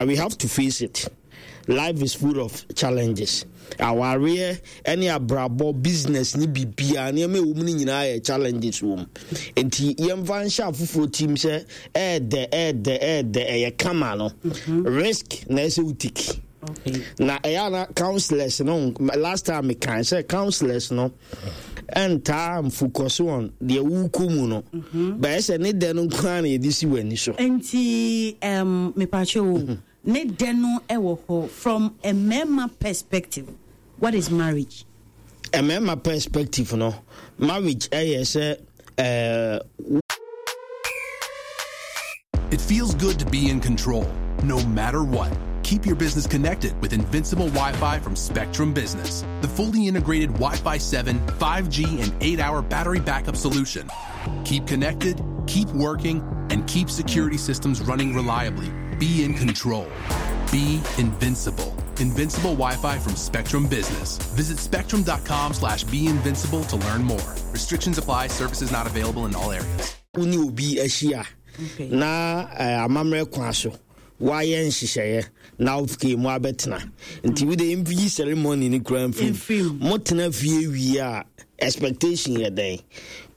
We have to face it. Life is full of challenges. Awareɛ ne abrabɔ, business ne biribiara, nneɛma ɛwɔ mu no nyinaa yɛ challenges wɔ mu. Nti yɛmfa nhyɛ afoforɔ tim sɛ ɛɛdɛ ɛɛdɛ ɛɛdɛ ɛyɛ kama no. Mhm. Risk na ɛsɛ wo take. Na ɛyɛ ana counselors no last time mekan sɛ counselors no ɛntaa mfocus on deɛ wokɔ mu no mhm. bɛyɛ sɛ ne dɛ no nko ara na yɛde si w'ani so. Nti um, mepakyɛ o mhm. ne dɛ no ɛwɔ hɔ from a mmarima perspective, what is marriage? Mmarima perspective no, marriage ɛyɛ sɛ uh, It feels good to be in control, no matter what. Keep your business connected with Invincible Wi Fi from Spectrum Business, the fully integrated Wi Fi 7, 5G, and 8 hour battery backup solution. Keep connected, keep working, and keep security systems running reliably. Be in control. Be invincible. Invincible Wi-Fi from Spectrum Business. Visit spectrum.com slash be invincible to learn more. Restrictions apply. Services not available in all areas. Wo ne obi ahyia na eh, amammerɛ kwan so woayɛ nhyehyɛeɛ na wofike mu abɛtena nti wode mfii ceremony no kura mfirim motena fie wie a expectation yɛ dɛn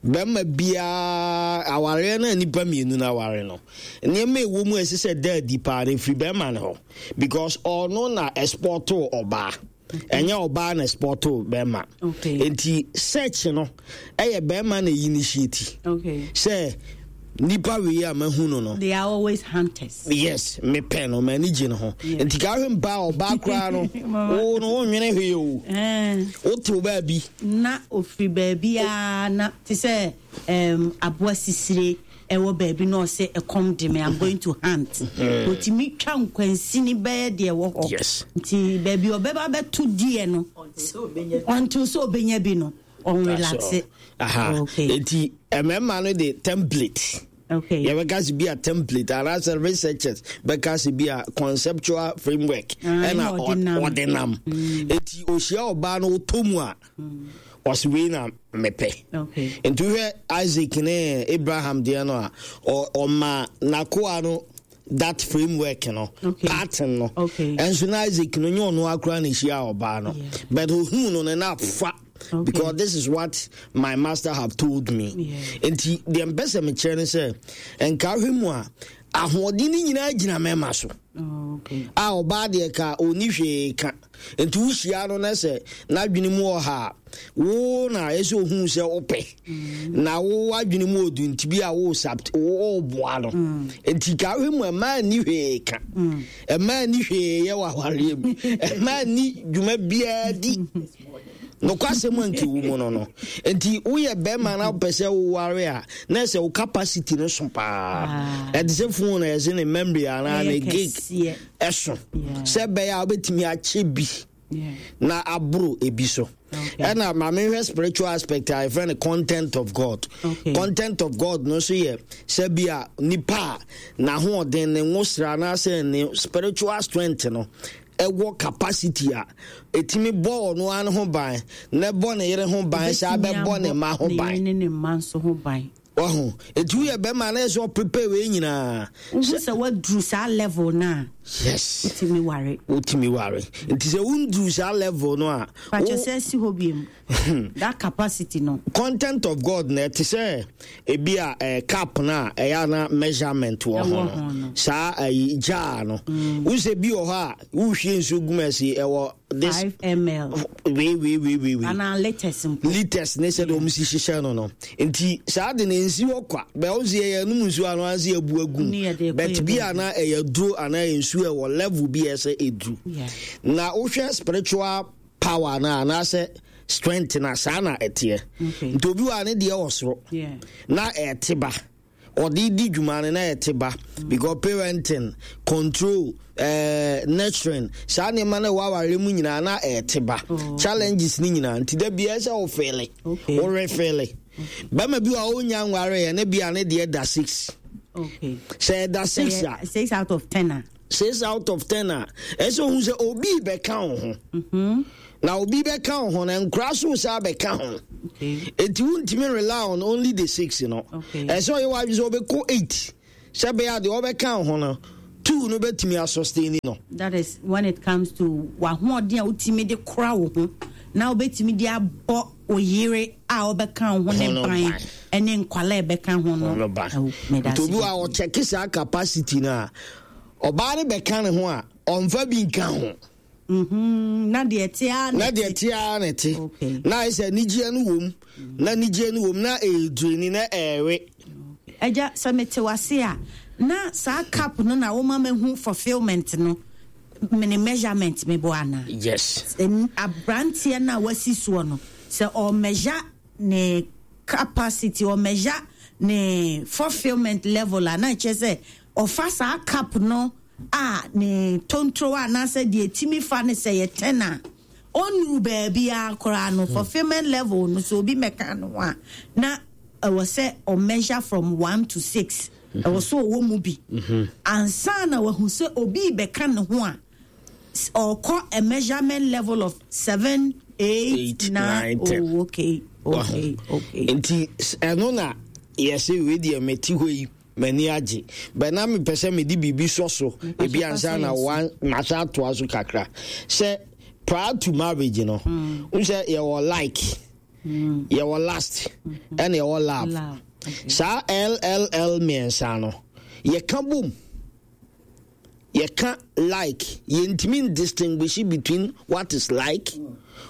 bɛrima biara awareɛ no a nnipa mmienu no aware no nneɛma ɛwɔ mu a ɛsɛ sɛ da adi paa no ɛfiri bɛrima no hɔ because ɔno na ɛspɔtoo ɔbaa ɛnyɛ ɔbaa na ɛspɔtoo bɛrima nti search no ɛyɛ bɛrima na initiate sɛ nipa wei a mahu no no. They are always hunters. Yes, mepɛ no, m'ani gye ne ho. Nti ka ahwɛ mpa ɔbaa koraa no, wo no wonwene hwee o. Eh. Wotew baabi. Na ofiri baabi a na te sɛ um, aboa sisire ɛwɔ baabi na ɔsɛ ɛkɔm de me, I'm going to hunt. Otumi twa nkwansini bɛyɛ deɛ ɛwɔ hɔ. Yes. Nti baabi ɔbɛba bɛto deɛ no, until sɛ ɔbɛnya bi no, ɔnrelaxe. Aha. Okay. Nti mmarima no de template. Okay. Yɛbɛka sɛ bi a template anaasɛ researchers bɛka sɛ bi a conceptual framework ah, ɛna ɔde nam. Nti ohyia ɔbaa no ɔtɔ mu a. Ɔse wei na mepɛ. Nti wohwɛ Isaac ne Abraham deɛ no a, ɔma n'akoa no that framework no, okay. Pattern no. Ɛnso na Isaac no nyɛ ɔno akora na ehyia ɔbaa no. But ohun no no na fa. Okay. Because this is what my master have told me. Nti deɛ mpɛ sɛ mekyerɛ no sɛ nka ahwɛ mu a ahoɔden no nyinaa gyina mɛma so. Oh, okay. A ɔbaa deɛ ka ɔni hwee ka. Nti wohyia no na sɛ n'adwene mu ɔha a, wo na ɛsɛ ohun sɛ wopɛ. Mm. Na wo adwene mu odu nti bi a wo sabt wo boa no. Mm. Nti ka hwɛ mu ɛmaa ni hwee ka. Mm. Ɛmaa ni hwee yɛ wɔ awareɛ mu. Ɛmaa ni dwuma biara di. Nokwasɛm a nti wo mu no no. Nti woyɛ bɛrima na wopɛ sɛ woware a na ɛsɛ wo capacity no so paa. Ah. Ɛte sɛ phone a ɛsɛ ne memory anaa ne gig. Ɛso sɛ ɛbɛyɛ a wobɛtumi akyɛ bi na aboro ebi so. Ɛna maame hwɛ spiritual aspect a yɛfrɛ no content of God. Okay. Content of God no nso yɛ sɛ bi a nipa a n'ahoɔden ne nwosra anaasɛ ne spiritual strength no ɛwɔ capacity a ɛtumi bɔ ɔno ara ne ho ban na ɛbɔ ne yere ho ban saa bɛbɔ ne mma ho ban. Ne mma nso ho ban. Wahu? Eti woyɛ bɛrima na ɛsɛ ɔprepare wei nyinaa. Wohu sɛ woaduru saa level no a. Yes. Wotumi ware. Wotumi ware. Nti sɛ wonduru saa level no a. Pakyɛ sɛ si hɔ biem. That capacity no. Content of God na ɛte sɛ ebi a eh, cup no a ɛyɛ ana measurement wɔ ho no. Saa ayi jar no. Mm. Wo sɛ bi wɔ hɔ a wohwie nsuo gu mu ɛsi ɛwɔ this 5 ml wei wei wei wei wei anaa liters mpo liters ne sɛ de wɔn si hyehyɛ no no nti saa de na nsi hɔ kwa bɛn wɔn si yɛ yɛnum nsuo ano ansi ebu agu but bi ana ɛyɛ duro anaa ɛyɛ nsuo ɛwɔ level bi ɛsɛ eduru na wohwɛ spiritual power na anaasɛ strength na saa na ɛteɛ nti obi wɔ a ne deɛ wɔ soro na ɛte ba. Ɔde di dwuma no na ɛte ba because parenting, control, eh, nurturing, saa nneɛma no ɛwɔ awareɛ mu nyinaa na ɛte ba. Oh. Challenges no nyinaa nti da biara sɛ wofeele, worefeele. Bɛma bi wɔ a ɔnya nwareɛ ne bia ne deɛ da 6. Okay. Sɛ ɛda 6 a. 6 out of 10 a. 6 out of 10 a, ɛsɛ ohun sɛ obi bɛka wo ho. Mm-hmm. Na obi bɛka wo ho na nkora so saa bɛka ho. Enti wontumi rely on only the 6 no. Ɛsɛ ɔyɛ w'adwene sɛ ɔbɛkɔ 8 sɛ bɛyɛ adeɛ ɔbɛka wo ho no. Two no bɛtumi asustain no. That is when it comes to w'ahoɔden a wotumi de kora wo ho na wobɛtumi de abɔ wo yere a ɔbɛka wo ho ne ban ne nkwala a ɛbɛka ho no. Nti obi wɔ a ɔkyɛke saa capacity no a, ɔbaa no bɛka ne ho a, ɔmfa bi nka ho. Mm-hmm. Na deɛ ɛte ara na deɛ ɛte ara na ɛte. Na ayɛ sɛ anigyeɛ no wom, na anigyeɛ no wom, na ɛredureni na ɛrewe. Agya, sɛ mete wase a, na saa cup no na woma mahu fulfillment no, mene measurement meboa anaa? Yes. Aberanteɛ no a wasi soɔ no, sɛ ɔmeasure ne capacity, ɔmeasure ne fulfillment level a, na ɛkyerɛ sɛ ɔfa saa cup no a ne tontoro anaasɛ deɛ ɛtumi fa no sɛ yɛ 10 a, ɔnnuru baabiara koraa no, fulfillment level no, sɛ obi mmɛka no ho a, na ɛwɔ sɛ ɔ measure from 1 to 6. Ɛwɔ sɛ ɔwɔ mu bi ansa na wahu sɛ obi bɛka ne ho a, ɔkɔ a measurement level of 7, 8, 9. 10. Oh, okay. Nti ɛno na yɛsɛ wei deɛ, mete hɔ yi, m'ani agye bɛ na mepɛ sɛ mede biribi sɔ so ebi ansa na mahyɛ atoa so kakra sɛ prior to marriage no, n sɛ yɛwɔ like, yɛwɔ lust, ɛna yɛwɔ love. Love. Saa lll mmiɛnsa no, yɛka bom, yɛka like, yɛntumi distinguish between what is like,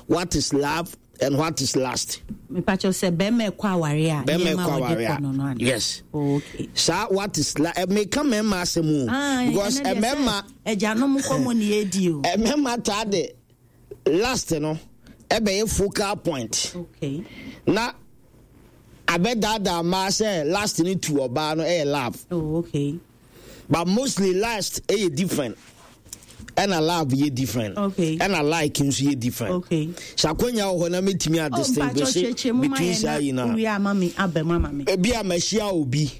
what is love and what is lust. Mepakyɛw, sɛ bɛrima ɛkɔ aware a, bɛrima nneɛma ɛkɔ a wɔde aware kɔ no a ana? Yes. Oh, okay. Saa what is like, meka mmarima asɛm o, Ah, because ɛnɛ deɛ sɛ mmarima agyanom nkɔmmɔ ne yɛdi o. Mmarima taa de lust no ɛbɛyɛ focal point na abɛdaadaa mmaa sɛ lust no tu ɔbaa no ɛyɛ love. But mostly lust ɛyɛ different, ɛna love yɛ different, ɛna like nso yɛ different. Sɛ akwanya wɔ hɔ na mɛtumi a Oh, distinguish mpakyɛw, kyerɛkyerɛ mu ma between yɛn saa na yi na wowie ama me aba mu ama me. Ebi a mahyia obi,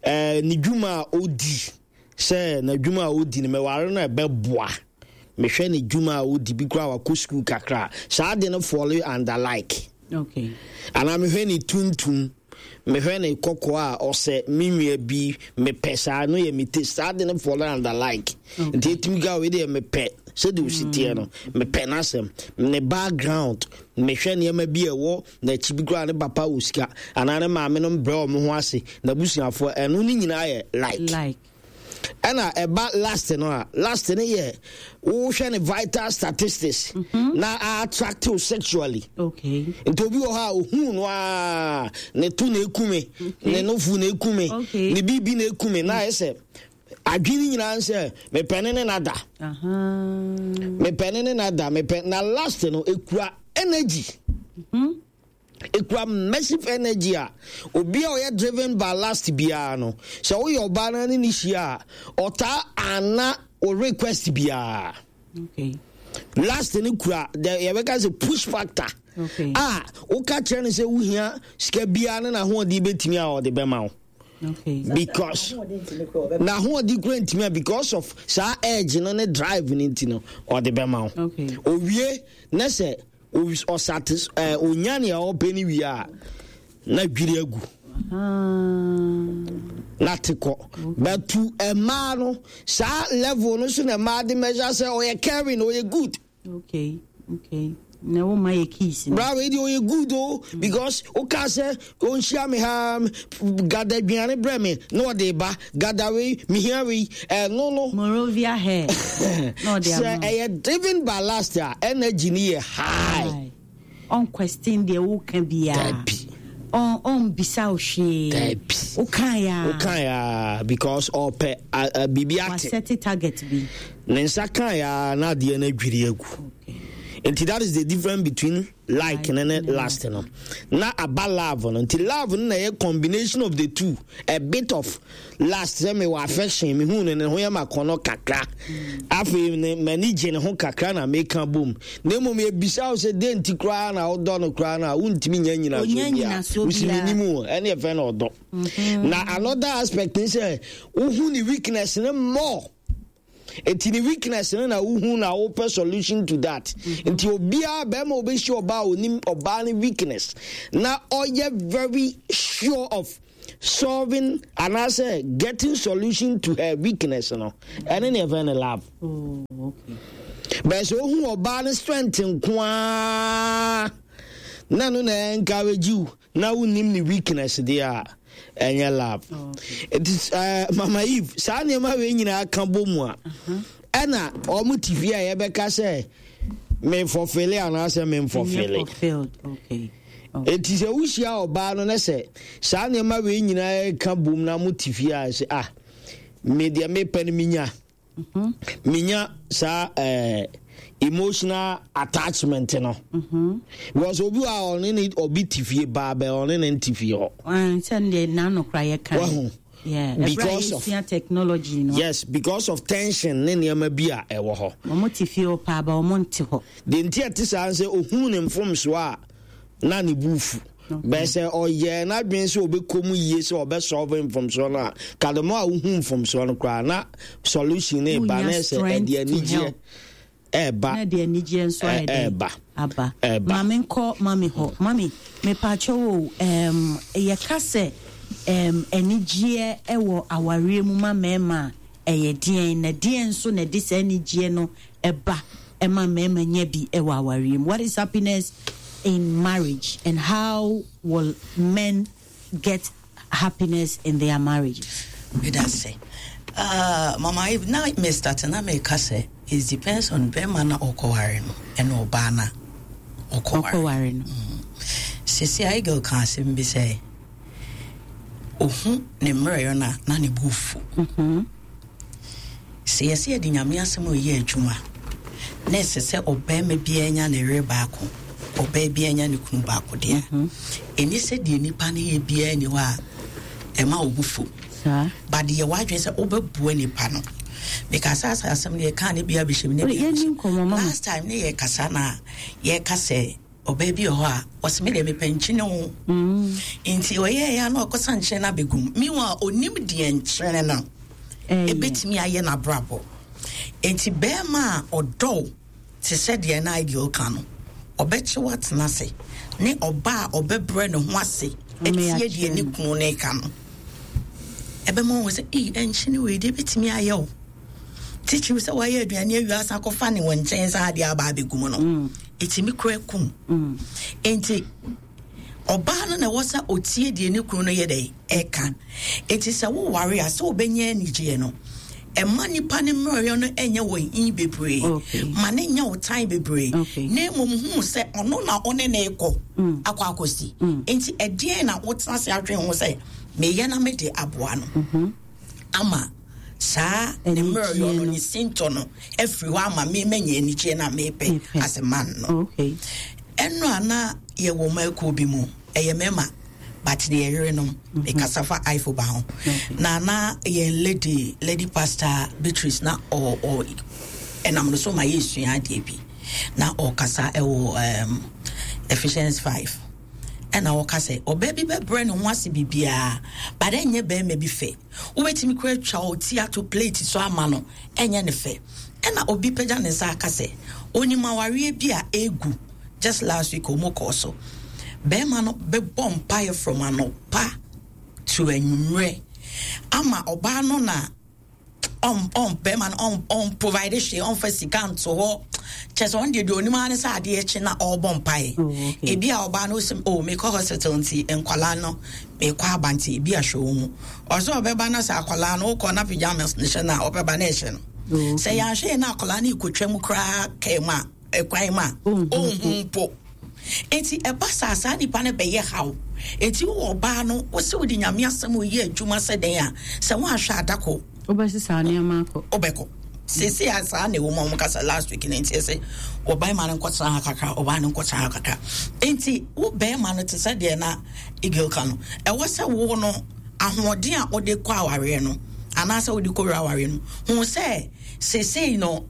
ne dwuma a odi, sɛ n'adwuma a odi no, mɛware no a, ɛbɛboa. Mehwɛ ne dwuma a odi bi koraa, wakɔ sukuu kakra, saa de no fall under like. Anaa mehwɛ ne tuntum, mehwɛ ne kɔkɔɔ a ɔsɛ me nua bi, mepɛ saa no, yɛ me taste, saa de no fall under like. Nti ɛtumi ka wei deɛ, mepɛ sɛdeɛ osi teɛ no, mepɛ n'asɛm, ne background, mehwɛ nneɛma bi a ɛwɔ n'akyi bi koraa, ne papa wɔ sika anaa ne maame no mbrɛ wɔn ho ase, n'abusuafoɔ, ɛno ne nyinaa yɛ like. Like. Ɛna ɛba lust no a, lust no yɛ wohwɛ ne vital statistics na attract you sexually. Nti obi wɔ hɔ a ohun no a, ne to na ekume, ne nofu na ekume, ne biribi na ekume, na ayɛ sɛ adwene nyinaa sɛ mepɛ ne ne nada, mepɛ ne ne nada, mepɛ. Na lust no ekura energy, ekura massive energy a obi a ɔyɛ driven by lust biara no, sɛ woyɛ ɔbaa no ne ne hyia a, ɔtaa ana o request biara. Lust no kura the yɛbɛka sɛ push factor a woka kyerɛ no sɛ wohia sika biara ne n'ahoɔden bɛtumi a, ɔde bɛma wo, because n'ahoɔden kura ntumi a, because of saa urge no ne drive no nti no, ɔde bɛma wo. Owie na sɛ ɔsatis onya nea ɔpɛ no wie a, na dwiri agu na te kɔ. But to mmaa no, saa level no so na mmaa de measure sɛ ɔyɛ caring, ɔyɛ good. Okay. Na wo ma yɛ keys no. Bra, wei deɛ ɔyɛ good o, because woka sɛ ɔnhyia me ha, gada aduane brɛ me na ɔde ba, gada wei, mehia wei, ɛno no. Morovia hair na ɔde sɛ ama wo. Ɛyɛ driven by lust a, energy no yɛ high. Ɔnquestion deɛ woka biara. Dabi. Ɔnbisa wo hwee. Dabi. Wokaeɛ a. Wokaeɛ a, because ɔpɛ biribi ate. Wasɛte target bi. Ne nsa kaeɛ a, na adeɛ no adwiri agu. Nti that is the difference between like ne lust no. Na aba love no, nti love no na ɛyɛ combination of the two, a bit of lust, sɛ mewɔ affection, mehu no, ne ho yɛ ma kɔnɔ kakra, afei ne m'ani gye ne ho kakra na meka bom. Na mmom yɛbisa wo sɛ dɛn nti koraa na wodɔ no koraa no a, wontumi nya nyinasoɔ Onya biara. nyinasoɔ Wosi biara. menim o, ɛne yɛfrɛ no ɔdɔ. Na another aspect ne sɛ wohu ne weakness ne more. Eti ne weakness no na wohu na wopɛ solution to that. Nti obiara bɛrima a obɛhyia ɔbaa a onim ɔbaa ne weakness na ɔyɛ very sure of. solving anaasɛ getting solution to her weakness no, ɛne ne yɛfrɛ no love. Oh, okay. Bɛɛ sɛ ohu ɔbaa no strength nko ara na no na encourage you na wonim ne weakness deɛ a, ɛnyɛ love. Nti Mama Eve, saa nneɛma wei nyinaa ka bɔ mu a, ɛna wɔn te fie a yɛbɛka sɛ memfɔfele anaasɛ memfɔfele. Enti sɛ wohyia ɔbaa no na sɛ saa nneɛma wei nyinaa ka bom na mo te fie a, sɛ ah, me deɛ mepɛ no menya. Menya saa emotional attachment no. Because obi wa ɔne ne obi te fie baa bɛ ɔne ne nte fie hɔ. Sɛ deɛ n'ano kora yɛ kan. Wahu. Yeah, because of technology no. Yes, because of tension ne nneɛma bi a ɛwɔ hɔ. Wɔn te fie hɔ paa ba wɔn nte hɔ. Deɛ nti ɛte saa sɛ ohun ne mfomsoɔ a na ne bu fu. Bɛyɛ sɛ ɔyɛ n'adwene sɛ ɔbɛkɔ mu yie sɛ ɔbɛsɔlve mfomsoɔ no a, kademo a wohu mfomsoɔ no koraa na solution no ba na ɛsɛ ɛde anigyeɛ ɛɛba. Na ɛde anigyeɛ nso ayɛ dɛ ɛɛba. Aba. Ɛɛba. Maame nkɔ mami hɔ. Mami, mepaakyɛw o, yɛka sɛ anigyeɛ ɛwɔ awareɛ mu ma mmarima a, ɛyɛ deɛn? Na deɛn nso na ɛde saa anigyeɛ no ɛba ɛma mmarima nya bi ɛwɔ awareɛ mu? What is happiness in marriage and how will men get happiness in their marriages? Meda se. Mama Eve, na me start na me ka sɛ it depends on bɛrima na ɔkɔware no ɛna ɔbaa na ɔkɔware no. Sisi a Eagle ka asɛm bi sɛ ohu ne mmerɛyɔ no a na ne bo fu. Sɛ yɛsɛ yɛde Nyame asɛm a ɔyɛ adwuma na ɛsɛ sɛ ɔbarima biara nya ne yere baako, ɔbaa biara nya ne kunu baako deɛ, ɛni sɛ deɛ nipa no yɛ biara ni hɔ a ɛma wo bo fu. But deɛ w'adwene sɛ wobɛboa nipa no. Mekasa asa asɛm no yɛkaa ne bia bɛhyɛm ne bia. Last time ne yɛkasa na yɛka sɛ ɔbaa bi wɔ hɔ a ɔsɛ me deɛ mepɛ nkyene o. Nti ɔyɛɛ ya na ɔkɔsa nkyene no abɛgum. Meanwhile onim deɛ nkyene no ɛbɛtumi ayɛ n'abrabɔ. Nti bɛrima a ɔdɔw te sɛ deɛ na ideal ka no, ɔbɛkye watena ase ne ɔbaa a ɔbɛbrɛ ne ho ase atie deɛ ne kunu no ka no. Ɛbɛma wɔn sɛ, ei, ɛnkyene wei deɛ ɛbɛtumi ayɛ o. Titiriw sɛ wayɛ aduane awie asa akɔfa ne wɔ nkyɛn saa adeɛ aba abɛgu mu no, ɛtumi kura kum. Nti ɔbaa no na ɛwɔ sɛ ɔtie deɛ ne kunu no yɛ dɛ ɛka. Nti sɛ woware a, sɛ wobɛnya anigyeɛ no, ɛma nipa ne mmerɛyɛ no ɛnyɛ wɔ hi bebree. Ma ne nyɛ wo tan bebree. Na mmom hu sɛ ɔno na ɔne ne kɔ akɔ akɔsi. Nti ɛdeɛn na wotena ase adwene ho sɛ meyɛ na mede aboa no ama saa ne mmerɛyɛ no ne sintɔ no afiri hɔ ama me manya anigyeɛ na mepɛ as a man no. Ɛno a na yɛwɔ mmakuo bi mu, ɛyɛ mmarima but ne yɛyerenom, mekasa fa ifo ba ho. Na yɛn lady pastor Beatrice na ɔ ɛnam no so ma yɛsua adeɛ bi. Na ɔkasa ɛwɔ Ephesians 5. Ɛna ɔka sɛ ɔbaa bi bɛbrɛ ne ho ase biribiara, but ɛnyɛ bɛrima bi fɛ. Wobɛtumi kora atwa wo ti ato plate so ama no, ɛnyɛ ne fɛ. Ɛna obi pagya ne nsa aka sɛ onim awareɛ bi a egu just last week ɔmo kɔɔ so. Bɛrima no bɛbɔ mpaeɛ from anɔpa to anwummerɛ ama ɔbaa no na ɔn bɛrima no ɔn provide hwee, ɔnfa sika nto hɔ. Kyɛ sɛ ɔn deɛ onim ara ne sɛ adeɛ kye na ɔrebɔ mpaeɛ. Ebi a ɔbaa no sɛ, oh, mekɔ hospital nti nkwalaa no mekɔ aba nti ebi ahwɛ wɔn mu. Ɔsɛ ɔbɛba na sɛ akwalaa no wokɔ na pajamas ne hyɛ no a ɔbɛba na ɛhyɛ no. Sɛ yɛanhwɛ yɛn na akwalaa no ekotwa mu koraa kɛɛ mu a ɛkwan mu a ɔnhu mpo. Enti ɛba saa saa nipa no bɛyɛ haw. Enti wowɔ ɔbaa no wosɛ wode Nyame asɛm oyɛ adwuma sɛ dɛn a sɛ woanhwɛ adako wobɛsesa nneɛma akɔ. Wobɛkɔ. Sese a saa na ɛwɔ mu a wɔn kasa last week no nti ɛsɛ ɔbarima no nkɔtena ha kakra, ɔbaa no nkɔtena ha kakra. Enti wo barima no te sɛ deɛ na Eagle ka no, ɛwɔ sɛ wo no ahoɔden a wode kɔ awareɛ no anaasɛ wode kɔwura awareɛ no hu sɛ sesei no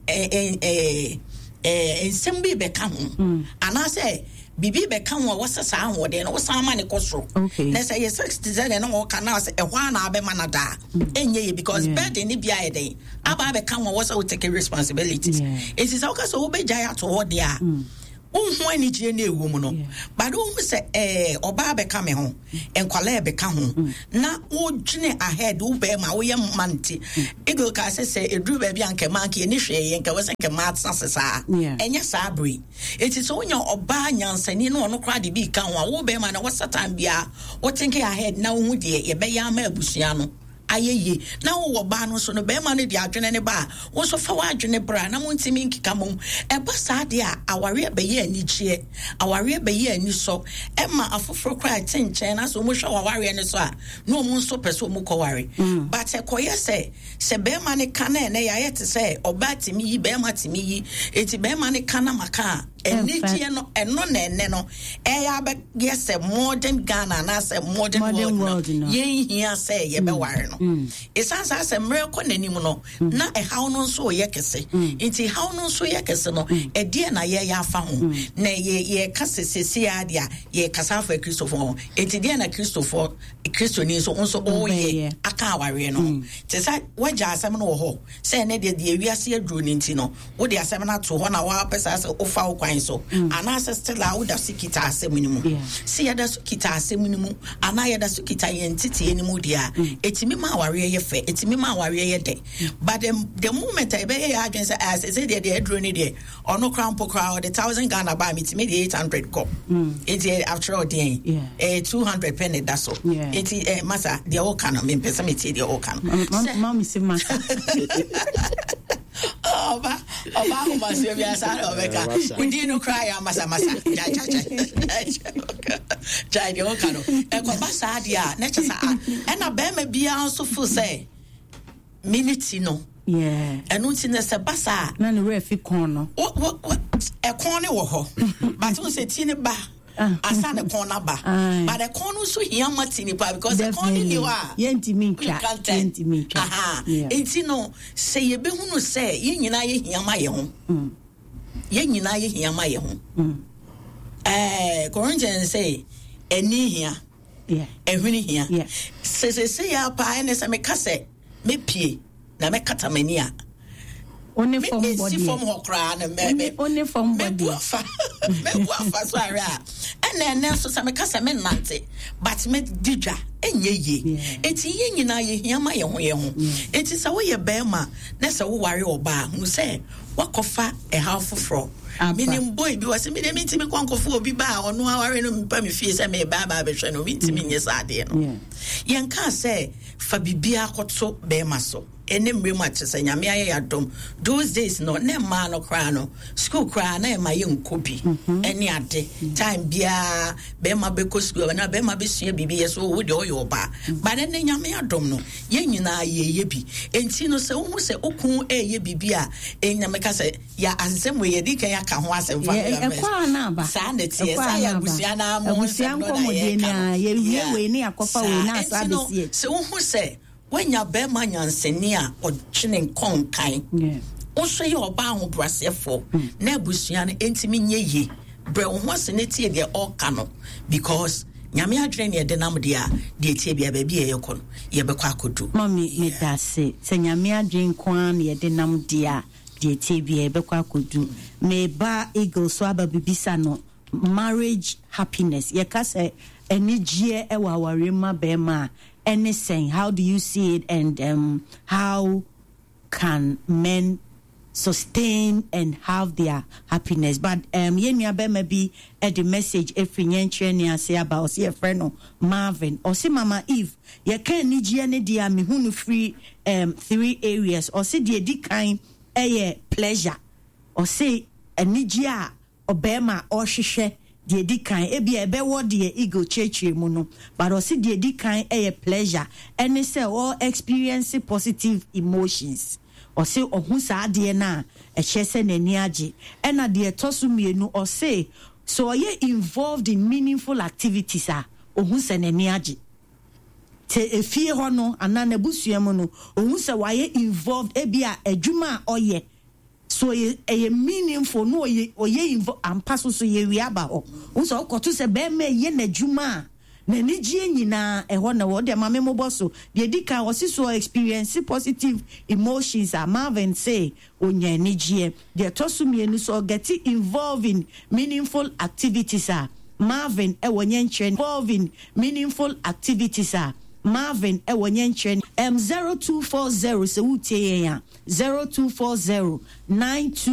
nsɛm bi bɛka ho anaasɛ biribi bɛka ho a wɔsɛ saa ahoɔden no wosan ma ne kɔ soro. Na sɛ yɛ sex te sɛ deɛ na wɔka na sɛ ɛhɔ a na abɛma no daa ɛnyɛ yɛ because burden ne bi ayɛ dɛn aba abɛka ho a wɔsɛ wo take responsibilities. Enti sɛ woka sɛ wobɛgyae ato hɔ deɛ a, Wonhu anigyeɛ no ɛwɔ mu no, but wohu sɛ ɛɛ ɔbaa bɛka me ho, nkwalaa bɛka ho, mm. na wodwene ahead wo bɛrima woyɛ mma nti. Eagle kaa sɛ sɛ ɛduru baabi a nkɛma nka yɛni hwee yɛ nka wɔ sɛ nkɛma atena se saa. Ɛnyɛ saa bere. Enti sɛ wonya ɔbaa nyansani na ɔno koraa de bi ka ho a, wo bɛrima no wɔ satan biara wo think ahead na wohu deɛ yɛbɛyɛ ama abusua no ayɛ yie. Na wowɔ baa no nso no, bɛrima no de adwene ne ba a, wo nso fa w'adwene bra na montumi nkeka mom. Ɛba saa deɛ a, awareɛ bɛyɛ anigyeɛ, awareɛ bɛyɛ anisɔ, ɛma afoforɔ koraa ɛte nkyɛn na sɛ wɔhwɛ w'awareɛ no so a, na wɔn nso pɛ sɛ wɔn kɔware. Mm. But ɛkɔyɛ sɛ sɛ bɛrima no ka na ɛnɛ yɛayɛ te sɛ ɔbaa tumi yi, bɛrima tumi yi, eti bɛrima no ka na maka a, anigyeɛ no ɛno na ɛnɛ no ɛyɛ abɛyɛ sɛ modern Ghana anaasɛ modern world no yɛnhia sɛ yɛbɛware no. Ɛsiane saa sɛ mmerɛ kɔ n'anim no mm. na ɛhaw no nso yɛ kɛse. Mm. Nti haw no nso yɛ kɛse no, mm. ɛdeɛ na yɛyɛ afa ho. Na yɛka sɛ seesei ara deɛ a yɛkasa afa Kristofoɔ ho. Nti deɛ na Kristofoɔ Kristoni nso nso ɔreyɛ aka awareɛ no ho. Te sɛ woagya asɛm no wɔ hɔ sɛ ɛnɛ deɛ deɛ wiase aduro no nti no wode asɛm no ato hɔ na woapɛ saa sɛ wofa wo kwan so mm. anaasɛ still a woda so kita asɛm no mu. Sɛ yɛda so kita asɛm no mu anaa yɛda so kita yɛn nteteɛ no mu deɛ a mm. ɛtumi ma awareɛ yɛ fɛ, ɛtumi ma awareɛ yɛ dɛ. But the moment a yɛbɛyɛ yɛ adwene sɛ ah, sɛ deɛ deɛ aduro no deɛ ɔno koraa mpo koraa ɔde 1000 Ghana baa metumi de 800 kɔ mm. nti akyerɛ ɔdeɛn eh, 200 pɛ ne da so nti eh, masa deɛ woka no mempɛ sɛ metie deɛ woka no. Ɔba ɔba ahomasoɔ bi asa na ɔbɛka wodin no koraa yɛ amasamasa gyae deɛ woka no ɛkɔba saa deɛ a na kyɛ sɛ ɛna bɛrima biara nso fo sɛ me ne ti no ɛno nti no sɛ ba saa na ne werɛ fi kɔn no ɛkɔn ne wɔ hɔ but wo sɛ ti ne ba ah. asa ne kɔn no aba but ɛkɔn no nso hia ma ti nipa because ɛkɔn no ni hɔ a yɛntumi ntwa yɛntumi ntwa nti no sɛ yɛbɛhunu sɛ yɛn nyinaa yɛhia ma yɛn ho mm. yɛn nyinaa yɛhia ma yɛn ho mm. ɛɛ Corinthians sɛ ɛni hia ɛhwene hia sɛ sɛsɛ yɛ apaa ɛne sɛ meka sɛ mɛpie na mɛkata m'ani a mesi fam hɔ koraa no mɛbu afa mɛbu afa so ahwɛ a ɛna ɛnɛ nso sɛ meka sɛ menante but mɛdi dwa ɛnyɛ yie. Enti yɛn nyinaa yɛhia ma yɛn ho yɛn ho. Enti sɛ woyɛ bɛrima na sɛ woware ɔbaa hu sɛ wakɔfa ɛhaw foforɔ. Menim boy bi wɔse medeɛ mentimi nkɔ nkɔfo obi ba a ɔno aware no mpa me fie sɛ meba aba abɛhwɛ no, mentimi nyɛ saa adeɛ no. Yɛnkaa sɛ fa biribiara kɔto bɛrima so. Ɛne mmerɛ mu a kyerɛ sɛ Nyame ayɛ yɛ adom those days no na mmaa no koraa no school koraa na ɛma yɛ nkɔ bi mhm. ɛne ade time biara bɛrima bɛkɔ school na bɛrima bɛsua biribi yɛ so wo deɛ ɔyɛ ɔbaa mhm. but ɛnɛ Nyame adom no yɛn nyinaa yɛyɛ bi enti no sɛ wohu sɛ okun ɛyɛ biribi a ɛnya meka sɛ yɛ asɛm wei yɛde kan aka ho asɛm fa ɛkɔ a na aba saa na ɛteɛ saa yɛ abusua na mo nsɛm no na yɛka no yɛwie wei ne yɛakɔfa wei na asa abɛsi akyi sɛ wohu sɛ Woanya barima nyansani a ɔdwene nkɔ nkan. Wo nso yɛ ɔbaa ahobrɛaseɛfoɔ na abusua no ntumi nyɛ yie. Brɛ wo ho ase na tie deɛ ɔreka no because Nyame adwene ne ɛde nam deɛ a, deɛ ɛtie biara baabi a yɛrekɔ no yɛbɛkɔ akɔduru. Mummy medase, sɛ Nyame adwene nko ara na yɛde nam deɛ a, deɛ ɛtie biara yɛbɛkɔ akɔduru. Meba Eagle so aba bebisa no marriage happiness, yɛka sɛ anigyeɛ wɔ awareɛ mu ma bɛrima a, ɛne sɛn? How do you see it and um, how can men sustain and have their happiness? But um, yɛn nua bɛrima bi de message efiri nyɛnkyerɛ ne ase aba, ɔsi yɛfrɛ no Marvin. Ɔsi Mama Eve, yɛka anigyeɛ ne deɛ a mehu no firi um, three areas. Ɔsi deɛ di kan ɛyɛ pleasure. Ɔsi anigyeɛ a ɔbarima a ɔrehwehwɛ deɛ ɛdi kan, ebia ɛbɛwɔ deɛ Eagle kyerɛkyerɛ mu no, but ɔse deɛ ɛdi kan yɛ pleasure, ɛne sɛ ɔ experience positive emotions. Ɔse ɔhu saa adeɛ no a, ɛkyerɛ sɛ n'ani agye. Ɛna deɛ ɛtɔ so mmienu, ɔse sɛ ɔyɛ involved in meaningful activities a, ɔhu sɛ n'ani agye. Sɛ efie hɔ no anaa n'abusua mu no, ɔhu sɛ wayɛ involved, ebia adwuma a ɔyɛ, So ɔyɛ ɛyɛ meaningful na ɔyɛ ɔyɛ invo ampa so so yɛwie aba hɔ wohu sɛ wokɔto sɛ bɛrima ɛyɛ n'adwuma a N'anigyeɛ nyinaa ɛhɔ na ɛwɔ. Wodeɛ ma me mmobɔ so. Deɛ ɛdi kan, ɔse so ɔ experience positive emotions a, Marvin se ɔnya anigyeɛ. Deɛ ɛtɔ so mmienu, so ɔ get involved in meaningful activities a, Marvin wɔ nyɛnkyerɛ involved in meaningful activities a, Marvin wɔ nyɛnkyerɛ M 0240 sɛ woretie yɛn a, 0240 92.